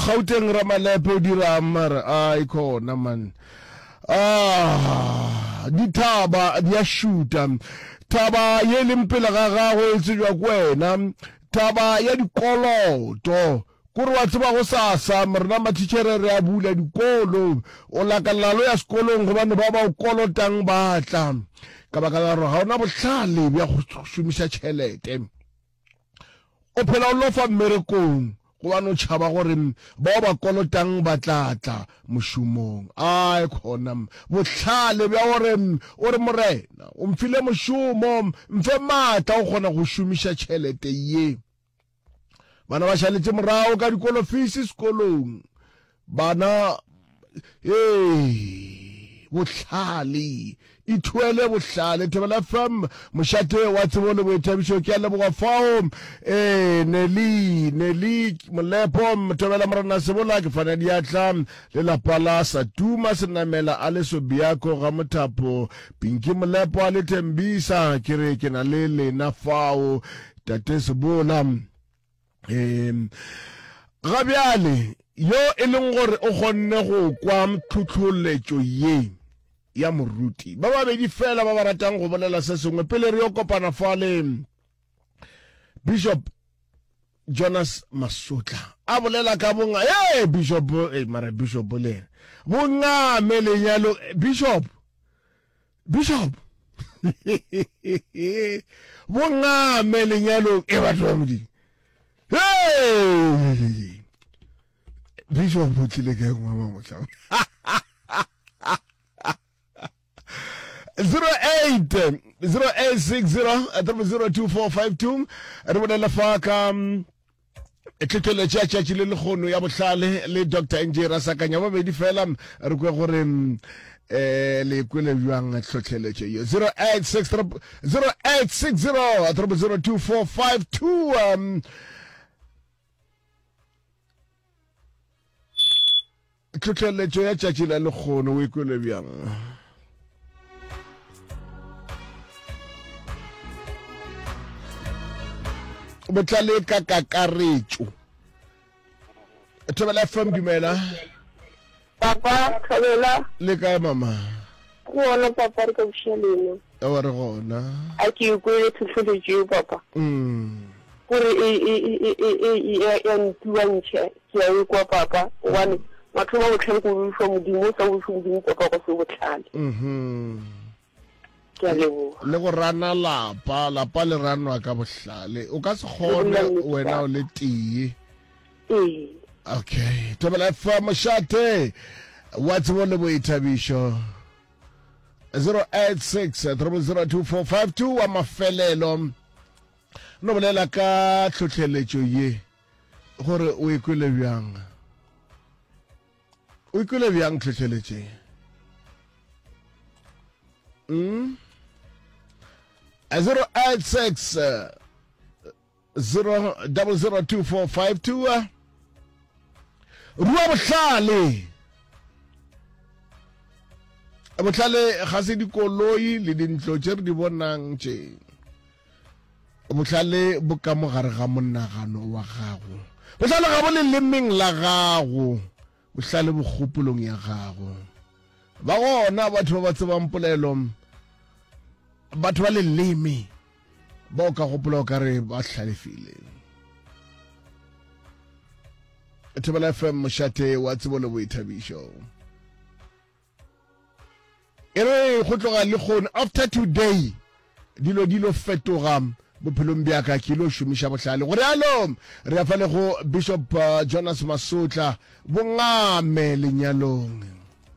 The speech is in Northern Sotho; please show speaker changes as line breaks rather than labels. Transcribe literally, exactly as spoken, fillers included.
Gauteng Ramalepe o dira mara ai khona man. Ah, dithaba di a šuta. Thaba ye leng pele ga gago e tsejwa ke wena. Thaba ya dikoloto. Kore wa tseba go sasa rena mathitšhere re a bula dikolo. O lakalela lo ya sekolong gobane ba ba o kolotang ba tla. Ka baka la gore ga ona bohlale bja go šomiša tšhelete. O phela o lofa mmerekong gobane o tšhaba gore bao ba kolotang ba tla tla mošomong. Ai khona bohlale bja gore o re morena o mfile mošomo, mfe maatla o kgona go šomiša tšhelete ye. Bana ba šaletše morago ka dikolo fees sekolong. Bana ee bohlale ithuele bohlale. Thobela F M mošate wa tsebo le boithabišo, ke a leboga fao. Ee Nelly Nelly Molepo Thobela Morena Sebola ke fana diatla le lapa la Satuma Senamela a le Sobiako ga Mothapo Pinky Molepo a le Thembisa, ke re ke na le lena fao tate Sebola. Um ga bjale yo e leng gore o kgonne go kwa tlhohloletšo ye ya moruti, ba babedi fela ba ba ratang go bolela se sengwe pele re yo kopana fale. Bishop Jonas Masotla a bolela ka bonga, hey Bishop, hey, mara Bishop le yena bongame lenyalo. Bishop Bishop bongame lenyalong e batho ba Modimo. Hey Bishop o tlile kae ngwa mohlang? zero eight zero eight six zero triple zero two four five two re bolela fa ka tlhohleletšo ya tšatši le lekgono ya bohlale le Doctor N J Rasakanya. Babedi fela re kwe gore eh le kwele bjang tlhohleletšo ye. Zero eight six zero eight six zero triple zero two four five two. Um tlhohleletšo ya tšatši la lekgono o e kwele bjang? Botlale ka kakaretšo. Thobela F M, dumela.
Papa, Thobela.
Le kae mama?
Gona papa, re ka buša lena.
Ewa re gona.
A ke kwele tlhohleletšo eo papa.
Mm.
Gore e e e e e e ya ntuantšhe, ke a e kwa papa, gobane mathomo a bohlale ko boifa Modimo, o sa boife Modimo papa go se bohlale.
Mhm.
Ke a leboga.
Le go rana lapa, lapa le ranwa ka bohlale. O ka se kgone wena o le tee.
Ee.
Okay, Thobela F M mošate wa tsebo le boithabišo. zero eight six triple zero two four five two wa mafelelo. No bolela ka tlhohleletšo ye gore o e kwele bjang. O ikwele bjang tlhohleletšo ye? Mm? zero eight six zero double zero two four five two. Rua bohlale. Bohlale ga se dikoloi le dintlo tše re di bonang tše. Bohlale bo ka mo gare ga monagano wa gago. Bohlale ga bo lelemeng la gago. Bohlale bo kgopolong ya gago. Ba gona batho ba ba tsebang polelo, batho ba leleme ba o ka gopola o ka re ba hlalefile. Thobela F M mošate wa tsebo le boithabišo. E re go tloga le kgone after today dilo dilo fetoga bophelong bja ka, ke lo šomiša bohlale. Gore alo re ya fa le go Bishop uh, Jonas Masotla bongame lenyalong.